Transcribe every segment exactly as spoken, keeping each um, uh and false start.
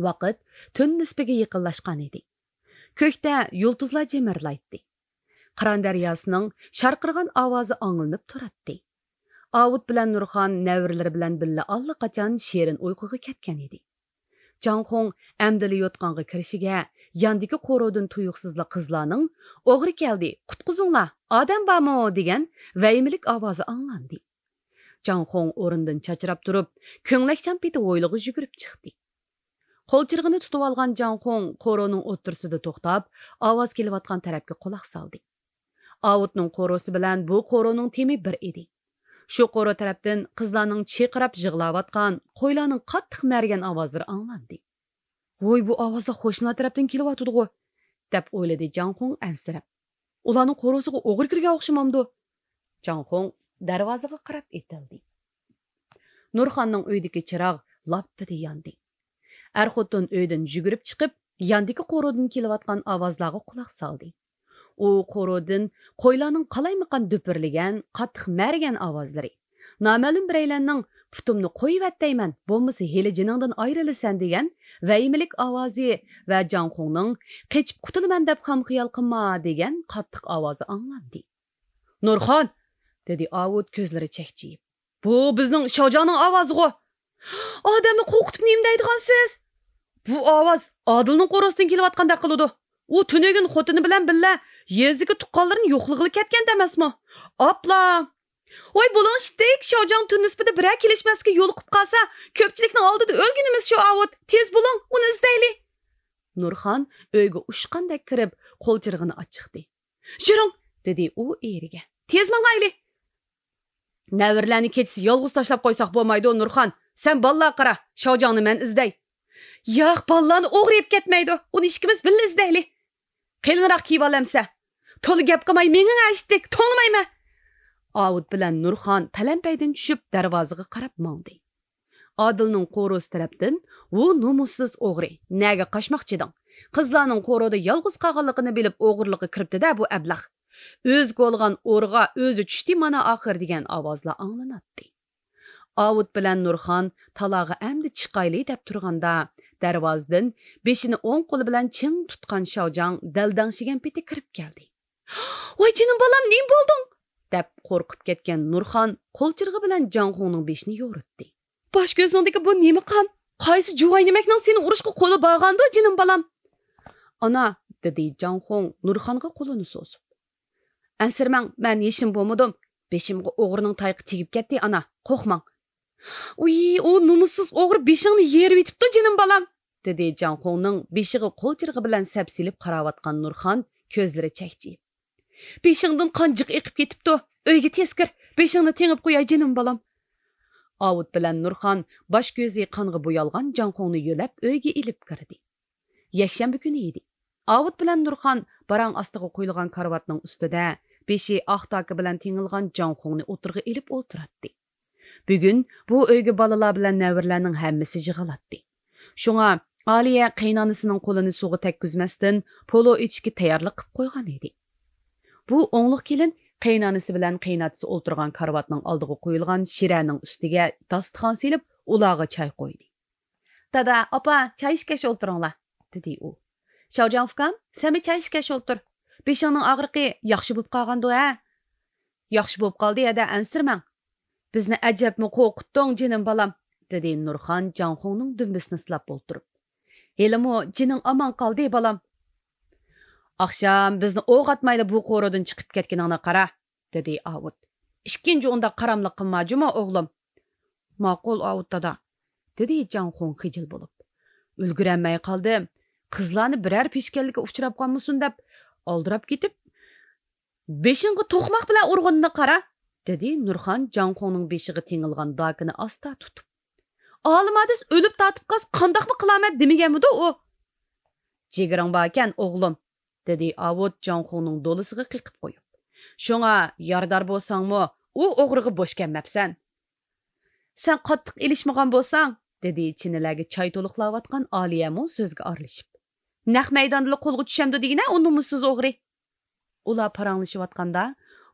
ۋاقىت تۈن نىسپىگە يېقىنلاشقان ئىدى. كۆكتە يۇلتۇزلار جىمىرلايتتى. قىران دەرياسىنىڭ شارقىرىغان ئاۋازى ئاڭلىنىپ تۇراتتى. ئاۋۇت بىلەن نۇرخان نەۋرىلىرى بىلەن بىللە ئاللىقاچان شېرىن ئۇيقۇغا كەتكەن ئىدى. جاڭخۇڭ ئەمدىلا يوتقانغا كىرىشىگە، ياندىكى قورۇدىن تۇيۇقسىزلا قىزلارنىڭ «ئوغرى كەلدى، قۇتقۇزۇڭلار، ئادەم بارمۇ؟» دېگەن ۋەھىمىلىك ئاۋازى ئاڭلاندى. جاڭخۇڭ ئورنىدىن چاچراپ تۇرۇپ، كۆڭلەكچان پېتى ھويلىغا يۈگۈرۈپ چىقتى. قول چىرىغىنى تۇتۇۋالغان جاڭخۇڭ قورۇنىڭ ئوتتۇرىسىدا توختاپ، ئاۋاز كېلىۋاتقان تەرەپكە قۇلاق سالدى. ئاۋۇتنىڭ قورۇسى بىلەن بۇ قورۇنىڭ تېمى بىر ئىدى. شۇ قورۇ تەرەپتىن قىزلارنىڭ چىرقىراپ يىغلاۋاتقان، قويلارنىڭ قاتتىق مەرىگەن ئاۋازلىرى ئاڭلاندى. «ۋوي، بۇ ئاۋازلار قوشنىلار تەرەپتىن كېلىۋاتىدىغۇ!» دەپ ئويلىدى جاڭخۇڭ ئەنسىرەپ. «ئۇلارنىڭ قورۇسىغا ئوغرى كىرگەن ئوخشىمامدۇ؟» جاڭخۇڭ دەرۋازىغا قاراپ ئېتىلدى. نۇرخاننىڭ ئۆيىدىكى چىراغ لاپپىدە ياندى. ئەر-خوتۇن ئۆيدىن يۈگۈرۈپ چىقىپ، ياندىكى قورۇدىن كېلىۋاتقان ئاۋازلارغا قۇلاق سالدى. ئۇ قورۇدىن قويلارنىڭ قالايمىقان دۈپۈرلىگەن، قاتتىق مەرىگەن ئاۋازلىرى، نامەلۇم بىرەيلەننىڭ «پۇتۇمنى قويۇۋەت دەيمەن، بولمىسا ھېلى جېنىڭدىن ئايرىلىسەن» دېگەن ۋەھىمىلىك ئاۋازى ۋە جاڭخۇڭنىڭ «قېچىپ قۇتۇلىمەن دەپ خام خىيال قىلما» دېگەن قاتتىق ئاۋازى ئاڭلاندى. «نۇرخان!» دېدى ئاۋۇت كۆزلىرى چەكچىيىپ. «بۇ بىزنىڭ شاۋجاڭنىڭ ئاۋازىغۇ!» «ئادەمنى قورقۇتۇپ نېمە دەيدىغانسىز؟ بۇ ئاۋاز ئادىلنىڭ قورۇسىدىن كېلىۋاتقاندەك قىلىدۇ. ئۇ تۈنۈگۈن خوتۇنى بىلەن بىللە يېزىدىكى تۇغقانلىرىنى يوقلىغىلى كەتكەنتى ئەمەسمۇ؟ ئاپلا!» «ۋاي، بولۇڭ ئىشتىك، شاۋجاڭ تۈن نىسپىدا بىرەر كېلىشمەسلىككە يولۇقۇپ قالسا، كۆپچىلىكنىڭ ئالدىدا ئۆلگىنىمىز شۇ ئاۋۇت. تېز بولۇڭ، ئۇنى ئىزدەيلى!» نۇرخان ئۆيگە ئۇچقاندەك كىرىپ، قول چىرىغىنى ئاچىقتى. «يۈرۈڭ!» دېدى ئۇ ئېرىگە. «تېز ماڭايلى!» «نەۋرىلەرنى كېچىسى يالغۇز تاشلاپ قويساق بولمايدۇ، نۇرخان. سەن بالىلارغا قارا، شاۋجاڭنى مەن ئىزدەي.» «ياق، بالىلارنى ئوغرى ئېلىپ كەتمەيدۇ. ئۇنى ئىككىمىز بىللە ئىزدەيلى.» «قېلىنراق كىيىۋال ئەمسە.» «تولا گەپ قىلماي مېڭىڭ ئىشتىك، توڭلىمايمەن.» ئاۋۇت بىلەن نۇرخان پەلەمپەيدىن چۈشۈپ، دەرۋازىغا قاراپ ماڭدى. ئادىلنىڭ قورۇسى تەرەپتىن: «ۋۇ نومۇسسىز ئوغرى، نەگە قاچماقچىدىڭ؟ قىزلارنىڭ قورۇدا يالغۇز قالغانلىقىنى بىلىپ، ئوغرىلىققا كىرىپتۇ-دە بۇ ئەبلەخ. ئۆزى كولىغان ئورىغا ئۆزى چۈشتى مانا ئاخىر» دېگەن ئاۋازلار ئاڭلىناتتى. ئاۋۇت بىلەن نۇرخان تالاغا ئەمدى چىقايلى دەپ تۇرغاندا، دەرۋازىدىن بېشىنى ئوڭ قولى بىلەن چىڭ تۇتقان شاۋجاڭ دەلدەڭشىگەن پېتى كىرىپ كەلدى. «ۋاي جېنىم بالام، نېمە بولدۇڭ؟» دەپ قورقۇپ كەتكەن نۇرخان قول چىرىغى بىلەن جاڭخۇڭنىڭ بېشىنى يورۇتتى. «باش كۆزۈڭدىكى بۇ نېمە قان؟ قايسى جۇۋاينىمەكنىڭ سېنى ئۇرۇشقا قولى بارغاندۇ، جېنىم بالام؟» «ئانا»، دېدى جاڭخۇڭ نۇرخانغا قولىنى سوزۇپ. «ئەنسىرىمەڭ، مەن ھېچنېمە بولمىدىم. بېشىمغا ئوغرىنىڭ تايىقى تېگىپ كەتتى، ئانا، قورقماڭ.» «ئۇي، ئۇ نومۇسسىز ئوغرى بېشىڭنى يېرىۋېتىپتۇ، جېنىم بالام!» دېدى جاڭخۇڭنىڭ بېشىغا قول چىرىغى بىلەن سەپسېلىپ قاراۋاتقان نۇرخان كۆزلىرى چەكچىيىپ. «بېشىڭدىن قان جىق ئېقىپ كېتىپتۇ. ئۆيگە تېز كىر، بېشىڭنى تېڭىپ قوياي، جېنىم بالام.» ئاۋۇت بىلەن نۇرخان باش كۆزى قانغا بويالغان جاڭخۇڭنى يۆلەپ ئۆيگە ئېلىپ كىردى. يەكشەنبە كۈنى ئىدى. ئاۋۇت بىلەن نۇرخان باراڭ ئاستىغا قويۇلغان كارىۋاتنىڭ ئۈستىدە بېشى ئاق داكا بىلەن تېڭىلغان جاڭخۇڭنى ئوتتۇرىغا ئېلىپ ئولتۇراتتى. بۈگۈن بۇ ئۆيگە بالىلار بىلەن نەۋرىلەرنىڭ ھەممىسى يىغىلاتتى. شۇڭا ئالىيە قېيىنئانىسىنىڭ قولىنى سۇغا تەگكۈزمەستىن، پولۇ ئېتىشكە تەييارلىق قىلىپ قويغان ئىدى. بۇ ئوڭلۇق كېلىن قېيىنئانىسى بىلەن قېيىنئاتىسى ئولتۇرغان كارىۋاتنىڭ ئالدىغا قويۇلغان شىرەنىڭ ئۈستىگە داستىخان سېلىپ، ئۇلارغا چاي قويدى. «دادا، ئاپا، چاي ئىچكەچ ئولتۇرۇڭلار»، دېدى ئۇ. «شاۋجاڭ ئۇكام، سەنمۇ چاي ئىچكەچ ئولتۇر. بېشىڭنىڭ ئاغرىقى ياخشى بولۇپ قالغاندۇ، ھە؟» «ياخشى بولۇپ قالدى، ھەدە، ئەنسىرىمەڭ.» «بىزنى ئەجەبمۇ قورقۇتتۇڭ، جېنىم بالام»، دېدى نۇرخان جاڭخۇڭنىڭ دۈمبىسىنى سىلاپ ئولتۇرۇپ. «ھېلىمۇ جېنىڭ ئامان قالدى، بالام.» «ئاخشام بىزنى ئوق ئاتمايلا بۇ قورۇدىن چىقىپ كەتكىنىڭنى قارا.» دېدى ئاۋۇت. «ئىككىنچى ئۇنداق قاراملىق قىلما جۇمۇ، ئوغلۇم.» «ماقۇل، ئاۋۇت دادا»، دېدى جاڭخۇڭ خىجىل بولۇپ. «ئۈلگۈرەلمەي قالدىم. قىزلارنى بىرەر پېشكەللىككە ئۇچراپ قالمىسۇن دەپ ئالدىراپ كېتىپ، بېشىڭغا توقماق بىلەن ئۇرغىنىنى قارا»، دېدى نۇرخان جاڭخۇڭنىڭ بېشىغا تېڭىلغان داكىنى ئاستا تۇتۇپ. «ئالىم ھادىس ئۆلۈپ تارتىپ قالسا قانداقمۇ قىلارمەن دېمىگەنمىدۇ ئۇ؟» «جىگىرىڭ باركەن، ئوغلۇم»، دېدى ئاۋۇت جاڭخۇڭنىڭ دولىسىغا قېقىپ قويۇپ. «شۇڭا يارىدار بولساڭمۇ، ئۇ ئوغرىغا بوش كەلمەپسەن.» «سەن قاتتىق ئېلىشمىغان بولساڭ»، دېدى چىنىلەرگە چاي تولۇقلاۋاتقان ئالىيەمۇ سۆزگە ئارىلىشىپ. «نەق مەيداندىلا قولغا چۈشەمدۇ دېگىنە ئۇ نومۇسسىز ئوغرى.» ئۇلار پاراڭلىشىۋاتقاندا،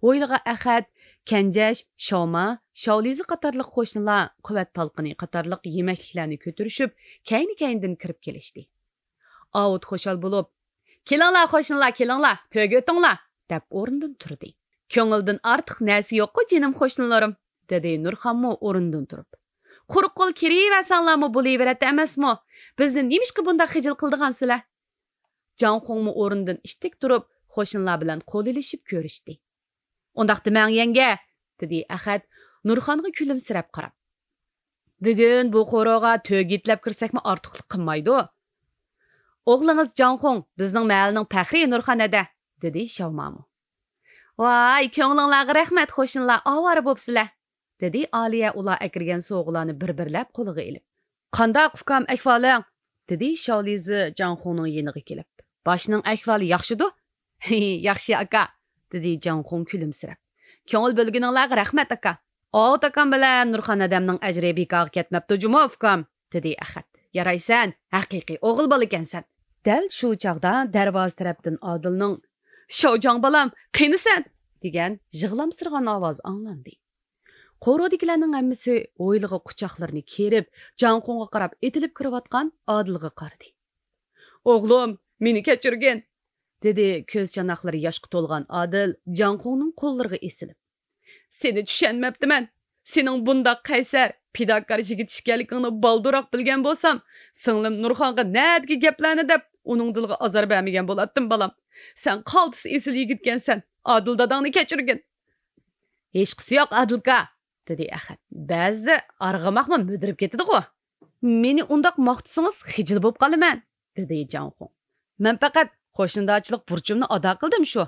ھويلىغا ئەخەت كەنجەش، شاۋما، شاۋلىزى قاتارلىق قوشنىلار قۇۋۋەت تالقىنى قاتارلىق يېمەكلىكلەرنى كۆتۈرۈشۈپ، كەينى-كەينىدىن كىرىپ كېلىشتى. ئاۋۇت خۇشال بولۇپ، «كېلىڭلار، قوشنىلار، كېلىڭلار، تۆگە ئۆتۈڭلار!» دەپ ئورنىدىن تۇردى. «كۆڭۈلدىن ئارتۇق نەرسە يوققۇ، جېنىم قوشنىلىرىم!» دېدى نۇرخانمۇ ئورنىدىن تۇرۇپ. «قۇرۇق قول كىرىۋەرسەڭلارمۇ بولۇۋېرەتتى ئەمەسمۇ؟ بىزنى نېمىشقا بۇنداق خىجىل قىلىدىغانسىلەر؟» جاڭخۇڭمۇ ئورنىدىن ئىتتىك تۇرۇپ، قوشنىلار بىلەن قول ئېلىشىپ كۆرۈشتى. «ئۇنداق دېمەڭ، يەڭگە!» دېدى ئەخەت نۇرخانغا كۈلۈمسىرەپ قاراپ. «بۈگۈن بۇ قورۇغا تۆگە يېتىلەپ كىرسەكمۇ ئارتۇقلۇق قىلمايدۇ.» «ئوغلىڭىز جاڭخۇڭ بىزنىڭ مەھەللىنىڭ پەخرى، نۇرخان ھەدە!» دېدى شاۋمامۇ. «ۋاي، كۆڭلۈڭلارغا رەھمەت، قوشنىلار، ئاۋارە بوپسىلەر!» دېدى ئالىيە ئۇلار ئەكىرگەن سوۋغىلارنى بىر-بىرلەپ قولىغا ئېلىپ. «قانداق ئۇكام ئەھۋالىڭ؟» دېدى شاۋلىزى جاڭخۇڭنىڭ يېنىغا كېلىپ. «باشنىڭ ئەھۋالى ياخشىدۇ؟» «ياخشى ئاكا» دېدى جاڭخۇڭ كۈلۈمسىرەپ. «كۆڭۈل بۆلگىنىڭلارغا رەھمەت ئاكا.» «ئاۋۇت ئاكام بىلەن نۇرخان ھەدەمنىڭ ئەجرى بىكارغا كەتمەپتۇ جۇمۇ ئۇكام» دېدى ئەخەت. «يارايسەن، ھەقىقىي ئوغۇل بالا ئىكەنسەن.» دەل شۇ چاغدا دەرۋازا تەرەپتىن ئادىلنىڭ «شاۋجاڭ بالام، قېنى سەن؟» دېگەن يىغلامسىرىغان ئاۋازى ئاڭلاندى. قورۇدىكىلەرنىڭ ھەممىسى ھويلىغا قۇچاقلىرىنى كېرىپ، جاڭخۇڭغا قاراپ ئېتىلىپ كىرىۋاتقان ئادىلغا قارىدى. «ئوغلۇم، مېنى كەچۈرگىن!» دېدى كۆز چاناقلىرى ياشقا تولغان ئادىل جاڭخۇڭنىڭ قوللىرىغا ئېسىلىپ. «سېنى چۈشەنمەپتىمەن. سېنىڭ بۇنداق قەيسەر، پىداكار يىگىت ئىكەنلىكىڭنى بالدۇرراق بىلگەن بولسام، سىڭلىم نۇرخانغا نەدىكى گەپلەرنى دەپ، ئۇنىڭ دىلىغا ئازار بەرمىگەن بولاتتىم، بالام. سەن قالتىس ئېسىل يىگىتكەنسەن، ئادىل داداڭنى كەچۈرگىن.» «ھېچقىسى يوق، ئادىلكا» دېدى ئەخەت. «بەزىدە ئارغىماقمۇ مۈدۈرۈپ كېتىدىغۇ.» «مېنى ئۇنداق ماختىسىڭىز خىجىل بولۇپ قالىمەن» دېدى جاڭخۇڭ. «مەن پەقەت قوشنىدارچىلىق بۇرچۇمنى ئادا قىلدىم شۇ.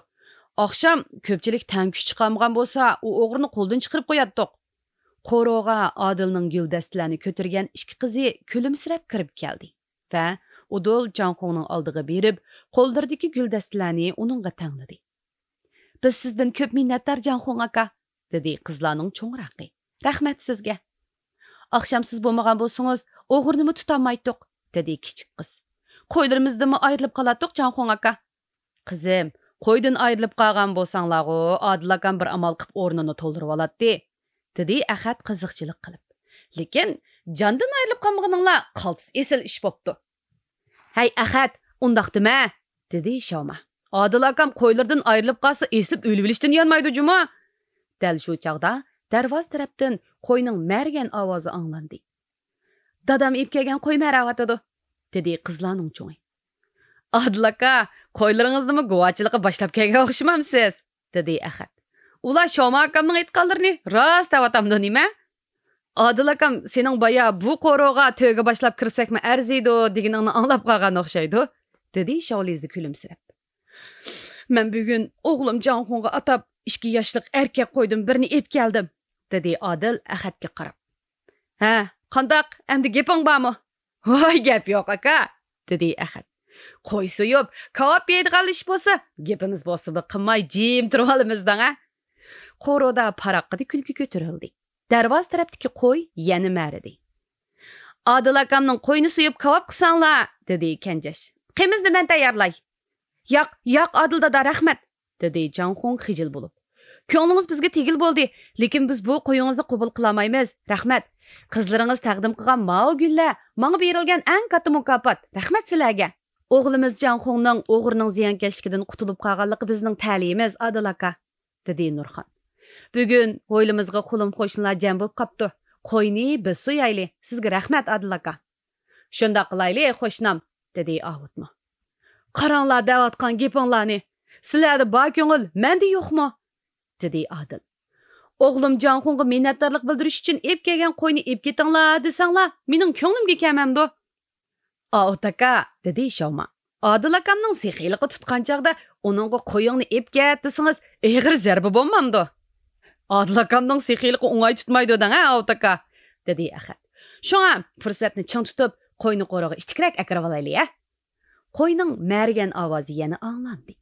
ئاخشام كۆپچىلىك تەڭ كۈچ چىقارمىغان بولسا، ئۇ ئوغرىنى قولدىن چىقىرىپ قوياتتۇق.» قورۇغا ئادىلنىڭ گۈلدەستىلەرنى كۆتۈرگەن ئىككى قىزى كۈلۈمسىرەپ كىرىپ كەلدى ۋە ئۇدۇل جاڭخۇڭنىڭ ئالدىغا بېرىپ، قوللىرىدىكى گۈلدەستىلەرنى ئۇنىڭغا تەڭلىدى. «بىز سىزدىن كۆپ مىننەتدار، جاڭخۇڭ ئاكا» دېدى قىزلارنىڭ چوڭراقى. «رەھمەت سىزگە. ئاخشام سىز بولمىغان بولسىڭىز، ئوغرىنىمۇ تۇتالمايتتۇق» دېدى كىچىك قىز. «قويلىرىمىزدىنمۇ ئايرىلىپ قالاتتۇق، جاڭخۇڭ ئاكا.» «قىزىم، قويدىن ئايرىلىپ قالغان بولساڭلارغۇ، ئادىل ئاكام بىر ئامال قىلىپ ئورنىنى تولدۇرۇۋالاتتى» دېدى ئەخەت قىزىقچىلىق قىلىپ. «لېكىن جاندىن ئايرىلىپ قالمىغىنىڭلار قالتىس ئېسىل ئىش بوپتۇ.» «ھەي ئەخەت، ئۇنداق دېمە» دېدى شاۋما. «ئادىل ئاكام قويلىرىدىن ئايرىلىپ قالسا، ئېسىلىپ ئۆلۈۋېلىشتىن يانمايدۇ جۇمۇ.» دەل شۇ چاغدا دەرۋازا تەرەپتىن قوينىڭ مەرىگەن ئاۋازى ئاڭلاندى. «دادام ئېلىپ كەلگەن قوي مەرەۋاتىدۇ» دېدى قىزلارنىڭ چوڭى. «ئادىل ئاكا، قويلىرىڭىزنىمۇ گۇۋاچىلىققا باشلاپ كەلگەن ئوخشىمامسىز؟» دېدى ئەخەت. «ئۇلار شاۋما ئاكامنىڭ ئېيتقانلىرىنى راست دەۋاتامدۇ نېمە؟» «ئادىل ئاكام سېنىڭ بايا بۇ قورۇغا تۆگە باشلاپ كىرسەكمۇ ئەرزىيدۇ دېگىنىڭنى ئاڭلاپ قالغان ئوخشايدۇ» دېدى شاۋلىزى كۈلۈمسىرەپ. «مەن بۈگۈن ئوغلۇم جاڭخۇڭغا ئاتاپ ئىككى ياشلىق ئەركەك قويدىن بىرنى ئېلىپ كەلدىم» دېدى ئادىل ئەخەتكە قاراپ. «ھە، قانداق، ئەمدى گېپىڭ بارمۇ؟» «ۋاي، گەپ يوق ئاكا» دېدى ئەخەت. «قوي سويۇپ كاۋاپ يەيدىغانلا ئىش بولسا، گېپىمىز بولسىمۇ قىلماي جىم تۇرۇۋالىمىز دەڭ ھە.» قورۇدا پاراققىدە كۈلكە كۆتۈرۈلدى. دەرۋازا تەرەپتىكى قوي يەنە مەرىدى. «ئادىل ئاكامنىڭ قويىنى سويۇپ كاۋاپ قىلساڭلار» دېدى كەنجەش. «قېمىزنى مەن تەييارلاي.» «ياق، ياق، ئادىل دادا، رەھمەت» دېدى جاڭخۇڭ خىجىل بولۇپ. «كۆڭلىڭىز بىزگە تېگىلى بولدى، لېكىن بىز بۇ قويىڭىزنى قوبۇل قىلالمايمىز، رەھمەت. قىزلىرىڭىز تەقدىم قىلغان ماۋۇ گۈللەر ماڭا بېرىلگەن ئەڭ كاتتا مۇكاپات، رەھمەت سىلەرگە.» «ئوغلىمىز جاڭخۇڭنىڭ ئوغرىنىڭ زىيانكەشلىكىدىن قۇتۇلۇپ قالغانلىقى بىزنىڭ تەلىيىمىز، ئادىل ئاكا» دېدى نۇرخان. «بۈگۈن ھويلىمىزغا خۇلۇم قوشنىلار جەم بولۇپ قاپتۇ. قوينى بىز سويايلى، سىزگە رەھمەت، ئادىل ئاكا.» «شۇنداق قىلايلى، قوشنام» دېدى ئاۋۇتمۇ. «قاراڭلار، دەۋاتقان گېپىڭلارنى. سىلەردە بار كۆڭۈل مەندە يوقمۇ؟» دېدى ئادىل. «ئوغلۇم جاڭخۇڭغا مىننەتدارلىق بىلدۈرۈش ئۈچۈن ئېلىپ كەلگەن قوينى ئېلىپ كېتىڭلار دېسەڭلار، مېنىڭ كۆڭلۈمگە كەلمەمدۇ؟» «ئاۋۇت ئاكا» دېدى شاۋما. «ئادىل ئاكامنىڭ سېخىيلىقى تۇتقان چاغدا ئۇنىڭغا قويۇڭنى ئېلىپ كەت دېسىڭىز، ئېغىر زەربە بولمامدۇ؟» «ئادىل ئاكامنىڭ سېخىيلىقى ئوڭاي تۇتمايدۇ دەڭ ھە، ئاۋۇت ئاكا» دېدى ئەخەت. «شۇڭا پۇرسەتنى چىڭ تۇتۇپ، قوينى قورۇغا ئىتتىكرەك ئەكىرىۋالايلى ھە.» قوينىڭ مەرىگەن ئاۋازى يەنە ئاڭلاندى.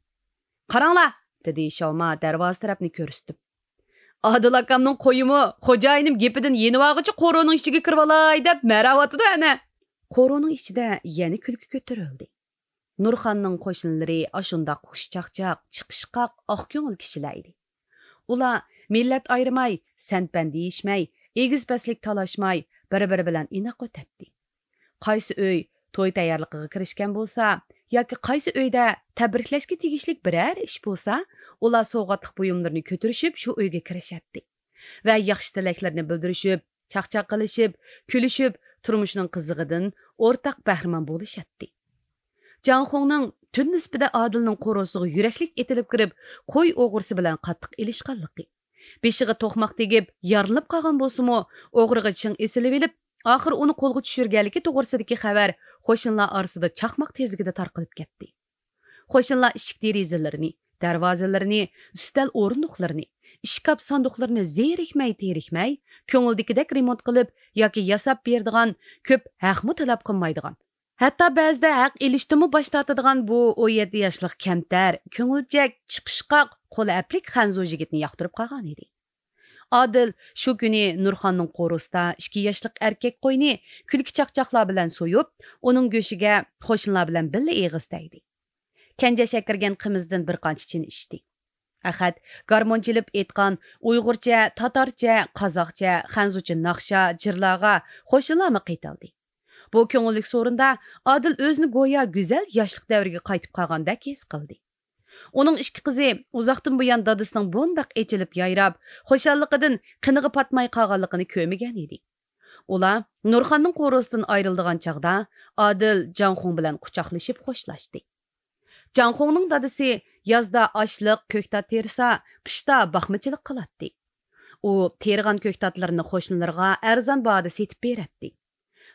«قاراڭلار» دېدى شاۋما دەرۋازا تەرەپنى كۆرسىتىپ. «ئادىل ئاكامنىڭ قويىمۇ خوجايىنىم گېپىدىن يېنىۋالغۇچە قورۇنىڭ ئىچىگە كىرىۋالاي دەپ مەرەۋاتىدۇ ئەنە.» قورۇنىڭ ئىچىدە يەنە كۈلكە كۆتۈرۈلدى. نۇرخاننىڭ قوشنىلىرى ئاشۇنداق خۇشچاقچاق، چىقىشقاق، ئاق كۆڭۈل كىشىلەر ئىدى. ئۇلار مىللەت ئايرىماي، سەن-پەن دېيىشمەي، ئېگىز-پەسلىك تالاشماي، بىر-بىرى بىلەن ئىناق ئۆتەتتى. قايسى ئۆي توي تەييارلىقىغا كىرىشكەن بولسا ياكى قايسى ئۆيدە تەبرىكلەشكە تېگىشلىك بىرەر ئىش بولسا، ئۇلار سوۋغاتلىق بۇيۇملىرىنى كۆتۈرۈشۈپ شۇ ئۆيگە كىرىشەتتى ۋە ياخشى تىلەكلىرىنى بىلدۈرۈشۈپ، چاقچاق قىلىشىپ، كۈلۈشۈپ، تۇرمۇشنىڭ قىزىقىدىن ئورتاق بەھرىمەن بولۇشاتتى. جاڭخۇڭنىڭ تۈن نىسپىدە ئادىلنىڭ قورۇسىغا يۈرەكلىك ئېتىلىپ كىرىپ، قوي ئوغرىسى بىلەن قاتتىق ئېلىشقانلىقى، بېشىغا توقماق تېگىپ يارىلىنىپ قالغان بولسىمۇ، ئوغرىغا چىڭ ئېسىلىۋېلىپ، ئاخىر ئۇنى قولغا چۈشۈرگەنلىكى توغرىسىدىكى خەۋەر قوشنىلار ئارىسىدا چاقماق تېزلىكىدە تارقىلىپ كەتتى. قوشنىلار ئىشىك دېرىزىلىرىنى، دەرۋازىلىرىنى، ئۈستەل ئورۇندۇقلىرىنى، ئىشكاپ ساندۇقلىرىنى زېرىكمەي تېرىكمەي، كۆڭۈلدىكىدەك رېمونت قىلىپ ياكى ياساپ بېرىدىغان، كۆپ ھەقمۇ تەلەپ قىلمايدىغان، ھەتتا بەزىدە ھەق ئېلىشتىنمۇ باش تارتىدىغان بۇ ئون يەتتە ياشلىق كەمتەر، كۆڭۈلچەك، چىقىشقاق، قول ئەپلىك خەنزۇ يىگىتنى ياقتۇرۇپ قالغان ئىدى. ئادىل شۇ كۈنى نۇرخاننىڭ قورۇسىدا ئىككى ياشلىق ئەركەك قوينى كۈلكە چاقچاقلار بىلەن سويۇپ، ئۇنىڭ گۆشىگە قوشنىلار بىلەن بىللە ئېغىز تەگدى. كەنجەش ئەكىرگەن قىمىزدىن بىر قانچە چىنە ئىچتى. ئەخەت گارمون چېلىپ ئېيتقان ئۇيغۇرچە، تاتارچە، قازاقچە، خەنزۇچە ناخشا، جىرلارغا قوشنىلارمۇ قېتىلدى. بۇ كۆڭۈللۈك سورۇندا ئادىل ئۆزىنى گويا گۈزەل ياشلىق دەۋرىگە قايتىپ قالغاندەك ھېس قىلدى. ئۇنىڭ ئىككى قىزى ئۇزاقتىن بۇيان دادىسىنىڭ بۇنداق ئېچىلىپ يايراپ، خۇشاللىقىدىن قېنىغا پاتماي قالغانلىقىنى كۆرمىگەن ئىدى. ئۇلار نۇرخاننىڭ قورۇسىدىن ئايرىلىدىغان چاغدا ئادىل جاڭخۇڭ بىلەن قۇچاقلىشىپ خوشلاشتى. جاڭخۇڭنىڭ دادىسى يازدا ئاشلىق، كۆكتات تېرىسا، قىشتا باقمىچىلىق قىلاتتى. ئۇ تېرىغان كۆكتاتلىرىنى قوشنىلىرىغا ئەرزان باھادا سېتىپ بېرەتتى.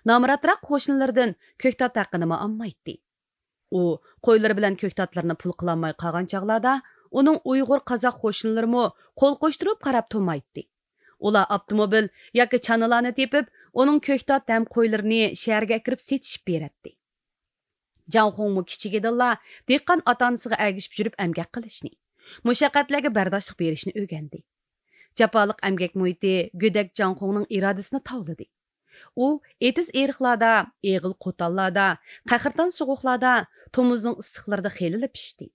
نامراتراق قوشنىلىرىدىن كۆكتات ھەققىنىمۇ ئالمايتتى. ئۇ قويلىرى بىلەن كۆكتاتلىرىنى پۇل قىلالماي قالغان چاغلاردا، ئۇنىڭ ئۇيغۇر، قازاق قوشنىلىرىمۇ قول قوشتۇرۇپ قاراپ تۇرمايتتى. ئۇلار ئاپتوموبىل ياكى چانىلارنى تېپىپ، ئۇنىڭ كۆكتات ھەم قويلىرىنى شەھەرگە ئەكىرىپ سېتىشىپ بېرەتتى. جاڭخۇڭمۇ كىچىكىدىنلا دېھقان ئاتا-ئانىسىغا ئەگىشىپ يۈرۈپ ئەمگەك قىلىشنى، مۇشەققەتلەرگە بەرداشلىق بېرىشنى ئۆگەندى. جاپالىق ئەمگەك مۇھىتى گۆدەك جاڭخۇڭنىڭ ئىرادىسىنى تاۋلىدى. ئۇ ئېتىز-ئېرىقلاردا، ئېغىل-قوتانلاردا، قەھرىتان سوغۇقلاردا، تومۇزنىڭ ئىسسىقلىرىدا خېلىلا پىشتى.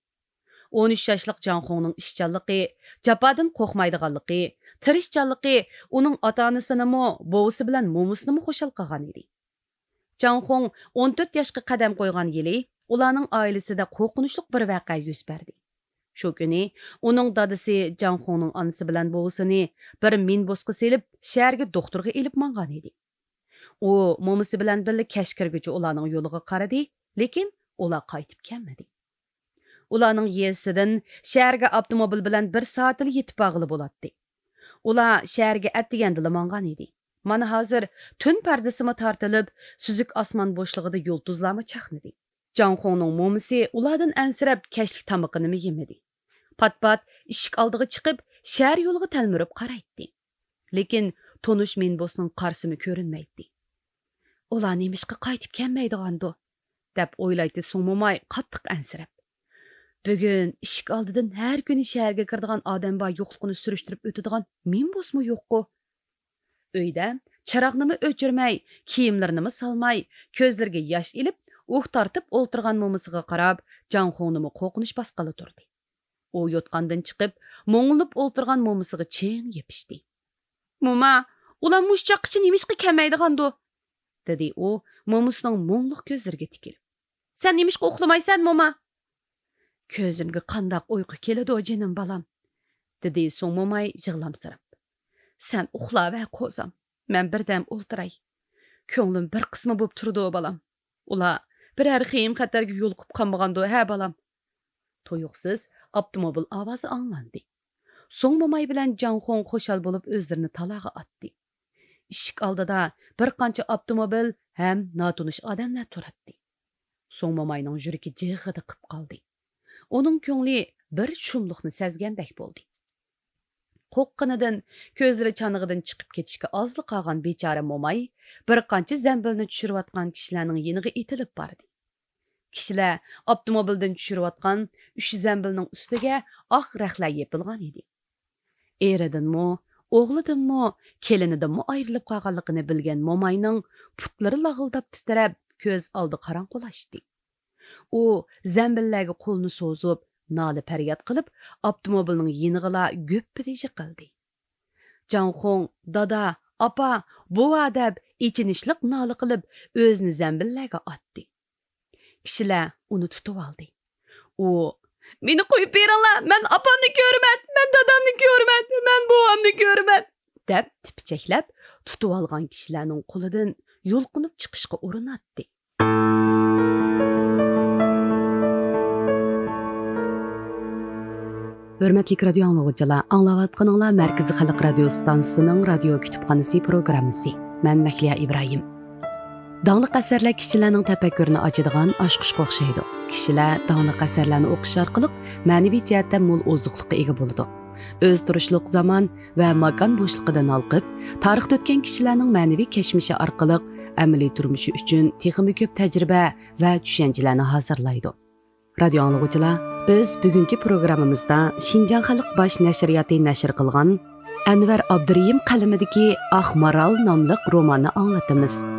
ئون ئۈچ ياشلىق جاڭخۇڭنىڭ ئىشچانلىقى، جاپادىن قورقمايدىغانلىقى، تىرىشچانلىقى ئۇنىڭ ئاتا-ئانىسىنىمۇ، بوۋىسى بىلەن مومىسىنىمۇ خۇشال قىلغان ئىدى. جاڭخۇڭ ئون تۆت ياشقا قەدەم قويغان يىلى ئۇلارنىڭ ئائىلىسىدە قورقۇنچلۇق بىر ۋەقە يۈز بەردى. شۇ كۈنى ئۇنىڭ دادىسى جاڭخۇڭنىڭ ئانىسى بىلەن بوۋىسىنى بىر مىنبۇسقا سېلىپ، شەھەرگە دوختۇرغا ئېلىپ ماڭغان ئىدى. ئۇ مومىسى بىلەن بىللە كەچ كىرگۈچە ئۇلارنىڭ يولىغا قارىدى، لېكىن ئۇلار قايتىپ كەلمىدى. ئۇلارنىڭ يېزىسىدىن شەھەرگە ئاپتوموبىل بىلەن بىر سائەتلا يېتىپ بارغىلى بولاتتى. ئۇلار شەھەرگە ئەتىگەندىلا ماڭغان ئىدى. مانا ھازىر تۈن پەردىسىمۇ تارتىلىپ، سۈزۈك ئاسمان بوشلۇقىدا يۇلتۇزلارمۇ چاقنىدى. جاڭخۇڭنىڭ مومىسى ئۇلاردىن ئەنسىرەپ، كەچلىك تامىقىنىمۇ يېمىدى. پات-پات ئىشىك ئالدىغا چىقىپ، شەھەر يولىغا تەلمۈرۈپ قارايتتى. لېكىن تونۇش مىنبۇسنىڭ قارىسىمۇ كۆرۈنمەيتتى. «ئۇلار نېمىشقا قايتىپ كەلمەيدىغاندۇ؟» دەپ ئويلايتتى سۇڭ موماي قاتتىق ئەنسىرەپ. «بۈگۈن ئىشىك ئالدىدىن ھەر كۈنى شەھەرگە كىرىدىغان ئادەم بار يوقلۇقىنى سۈرۈشتۈرۈپ ئۆتىدىغان مىنبۇسمۇ يوققۇ؟» ئۆيدە چىراغنىمۇ ئۆچۈرمەي، كىيىملىرىنىمۇ سالماي، كۆزلىرىگە ياش ئېلىپ، ئۇھ تارتىپ ئولتۇرغان مومىسىغا قاراپ، جاڭخۇڭنىمۇ قورقۇنچ باسقىلى تۇردى. ئۇ يوتقاندىن چىقىپ، مۇڭلىنىپ ئولتۇرغان مومىسىغا چىڭ يېپىشتى. «موما، ئۇلار مۇشۇ چاغقىچە نېمىشقا كەلمەيدىغاندۇ؟» دېدى ئۇ مومىسىنىڭ مۇڭلۇق كۆزلىرىگە تىكىلىپ. «سەن نېمىشقا ئۇخلىمايسەن، موما؟» «كۆزۈمگە قانداق ئۇيقۇ كېلىدۇ، جېنىم بالام؟» دېدى سۇڭ موماي يىغلامسىراپ. «سەن ئۇخلاۋەر، قوزام، مەن بىردەم ئولتۇراي. كۆڭلۈم بىر قىسما بوپ تۇرىدۇ، بالام. ئۇلار بىرەر خېيىم خەتەرگە يولۇقۇپ قالمىغاندۇ، ھە، بالام؟» تۇيۇقسىز ئاپتوموبىل ئاۋازى ئاڭلاندى. سۇڭ موماي بىلەن جاڭخۇڭ خۇشال بولۇپ ئۆزلىرىنى تالاغا ئاتتى. ئىشىك ئالدىدا بىر قانچە ئاپتوموبىل ھەم ناتونۇش ئادەملەر تۇراتتى. سۇڭ موماينىڭ يۈرىكى جىغغىدە قىپ قالدى. ئۇنىڭ كۆڭلى بىر شۇملۇقنى سەزگەندەك بولدى. قورققىنىدىن كۆزلىرى چانىقىدىن چىقىپ كېتىشكە ئازلا قالغان بىچارە موماي بىر قانچە زەمبىلنى چۈشۈرۈۋاتقان كىشىلەرنىڭ يېنىغا ئېتىلىپ باردى. كىشىلەر ئاپتوموبىلدىن چۈشۈرۈۋاتقان ئۈچ زەمبىلنىڭ ئۈستىگە ئاق رەخلەر يېپىلغان ئىدى. ئېرىدىنمۇ، ئوغلىدىنمۇ، كېلىنىدىنمۇ ئايرىلىپ قالغانلىقىنى بىلگەن موماينىڭ پۇتلىرى لاغىلداپ تىترەپ، كۆز ئالدى قاراڭغۇلاشتى. ئۇ زەمبىللەرگە قولىنى سوزۇپ، نالە-پەرياد قىلىپ، ئاپتوموبىلنىڭ يېنىغىلا گۈپپىدە يىقىلدى. جاڭخۇڭ، دادا، ئاپا، بوۋا دەپ ئېچىنىشلىق نالە قىلىپ، ئۆزىنى زەمبىللەرگە ئاتتى. كىشىلەر ئۇنى تۇتۇۋالدى. ئۇ، مېنى قويۇپ بېرىڭلار، مەن ئاپامنى كۆرىمەن، مەن دادامنى كۆرىمەن، مەن بوۋامنى كۆرىمەن، دەپ تىپىچەكلەپ، تۇتۇۋالغان كىشىلەرنىڭ قولىدىن يۇلقۇنۇپ چىقىشقا ئۇرۇناتتى. ھۆرمەتلىك رادىيو ئاڭلىغۇچىلار، ئاڭلاۋاتقىنىڭلار مەركىزىي خەلق رادىيو ئىستانسىسىنىڭ رادىيو كۇتۇپخانىسى پروگراممىسى. مەن مەھلىيا ئىبراھىم. داڭلىق ئەسەرلەر كىشىلەرنىڭ تەپەككۇرىنى ئاچىدىغان ئاچقۇچقا ئوخشايدۇ. كىشىلەر داڭلىق ئەسەرلەرنى ئوقۇش ئارقىلىق مەنىۋى جەھەتتە مول ئوزۇقلۇققا ئىگە بولىدۇ. ئۆزى تۇرۇشلۇق زامان ۋە ماكان بوشلۇقىدىن ھالقىپ، تارىختا ئۆتكەن كىشىلەرنىڭ مەنىۋى كەچمىشى ئارقىلىق ئەمەلىي تۇرمۇشى ئۈچۈن تېخىمۇ كۆپ تەجرىبە ۋە چۈشەنچىلەرنى ھازىرلايدۇ. رادىيو ئاڭلىغۇچىلار، بىز بۈگۈنكى پروگراممىمىزدا شىنجاڭ خەلق باش نەشرىياتى نەشر قىلغان ئەنۋەر ئابدۇرېھىم قەلىمىدىكى ئاق مارال ناملىق روماننى ئاڭلىتىمىز.